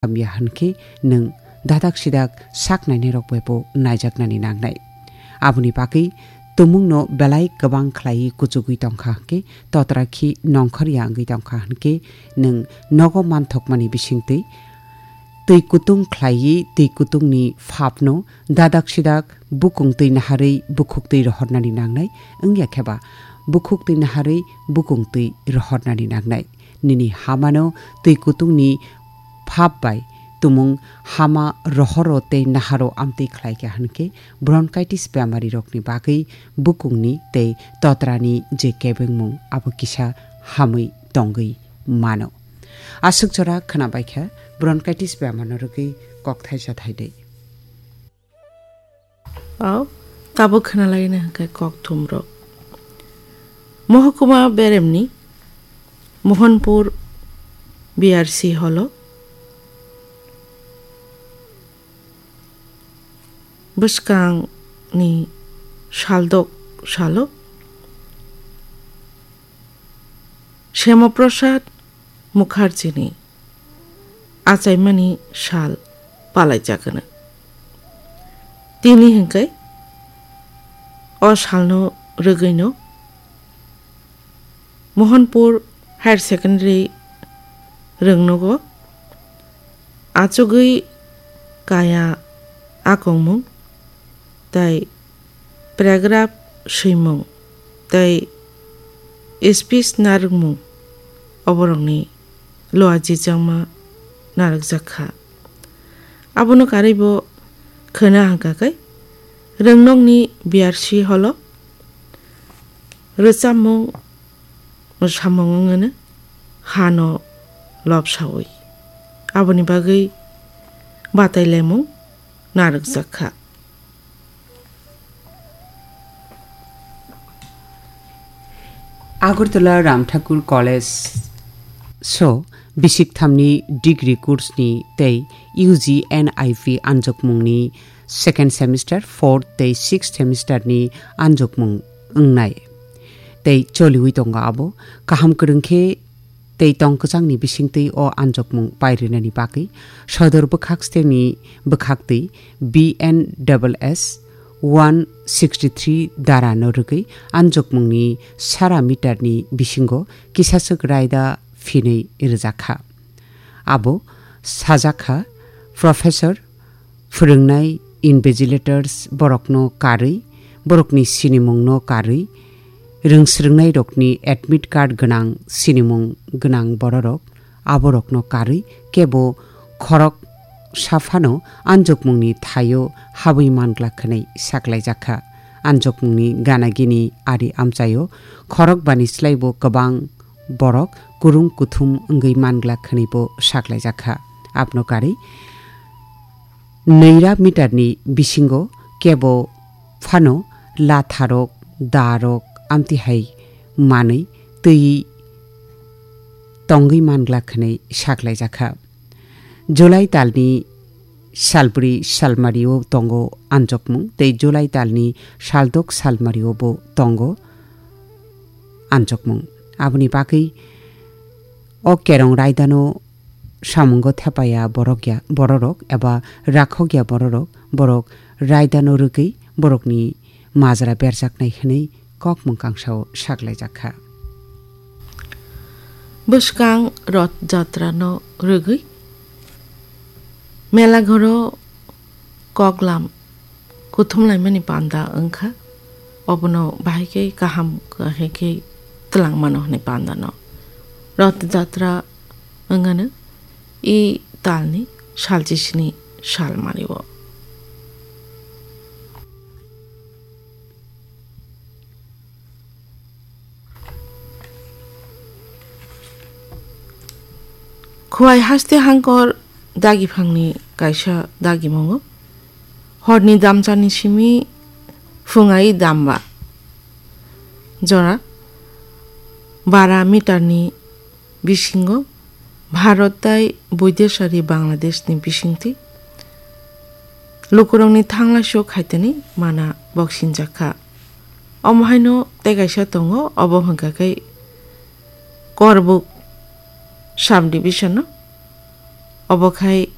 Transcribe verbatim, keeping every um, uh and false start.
hamya hwnkhe nwng dadak sidak sak nainairok bai bo naijaknani nangnai. Aboni bagwi tumungno belai kwbang khlaiwi kuchugwi tongkha hwnkhe totra khi nongkhorya wngwi tongkha hwnkhe nwng nogo manthokmani bisingtwi twi kutung khlaiwi twi kutungni phapno dadak sidak bukung twi naharwi bukhuk twi rohornani nangnai, wngya kheba bukhuk twi naharwi bukung twi rohornani nangnai. Nini hamano twi kutungni phap bai tumung hama rohoro tei naharo amtwi khlaikha hwnkhe bronchitis bemarirokni bagwi bukungni tei totrani je kebengmung abo kisa hamwi tongwi mano. Aswk jora khwnabaikha bronchitis bemarno rwgwi kokthai chathai dei. Au, tabuk khwnalaina hwnkhe kokthumrok. Mohokuma beremni Mohanpur B R C holo bwskangni saldok salo Shyamoprasad Mukherjini achaimani sal palaijak hwno. Tini hwnkhe o salno rwgwino Mohanpur Higher Secondary rwngnogo achugwi kaya akongmung tei paragraph swimung tei speech narwkmung oborokni loa jijangma narwkjak kha. Abono karwi bo khwna hwnkha khe rwngnokni B R C holo rwchapmung mwsamung wngwino hano lobsaui aboni bagwi batailaimung narwkjak kha. Agartala Ram Thakur College so bisik thamni degree course ni tei U G N I P anjokmungni second semester, fourth tei sixth semester ni anjokmung wngnai tei choliwi tongo abo. Kaham kwrwng khe tei tong kwchangni bisingtwi o anjokmung pairinani bagwi sodor bwkhak steni bwkhaktwi B N S S one sixty three dara no rwgwi anjokmungni sara meter ni bisingo kisaswk raida phinwi rwjakha. Abo sajakha, Professor, phwrwngnai, invigilators borokno karwi, borokni sinimungno karwi, rwngsrwngnairokni admit card gwnang sinimung gwnang bororok, aborokno karwi kebo khorok saphano anjokmungni thaio habwi manglak hwnwi saklaijakha. Anjokmungni gana gini ari amchaio khorok bani slaibo kwbang borok kurung kuthum wngwi manglak hwnwi bo saklaijakha. Abno karwi nwira meter ni bisingo kebo phano latharok, darok, amtwi hai manwi twi tongwi manglak hwnwi saklaijakha. July talni salbri salmario tongo anjokmung tei July talni saldok salmario bo tongo anjokmung. Aboni bagwi o kerong raidano samungo thepaya borok ya, bororok eba rakhok ya bororok, borok raidano rwgwi borokni majra berjaknai hwnwi kok mwkang sao saklaijak kha. Bwskang Roth Jatra no rwgwi Melaghoro koklam kuthumlaimani panda wngkha, obono bahai khe kaham, kahai khe twlang mano hwnwi panda no. Roth Jatra wngano e talni salchisini sal manio. Khowai haste hangkor dagiphangni kaisa dagimungo horni damchani simi phungai damba jora bara meterni bisingo Bharat tai Boideshari Bangladeshni bisingtwi lukurokni thanglaisio khaitani mana boksinjak kha. Omo haino tei kaisa tongo, obo hwnkha khe Korbuk subdivision-o Obo khai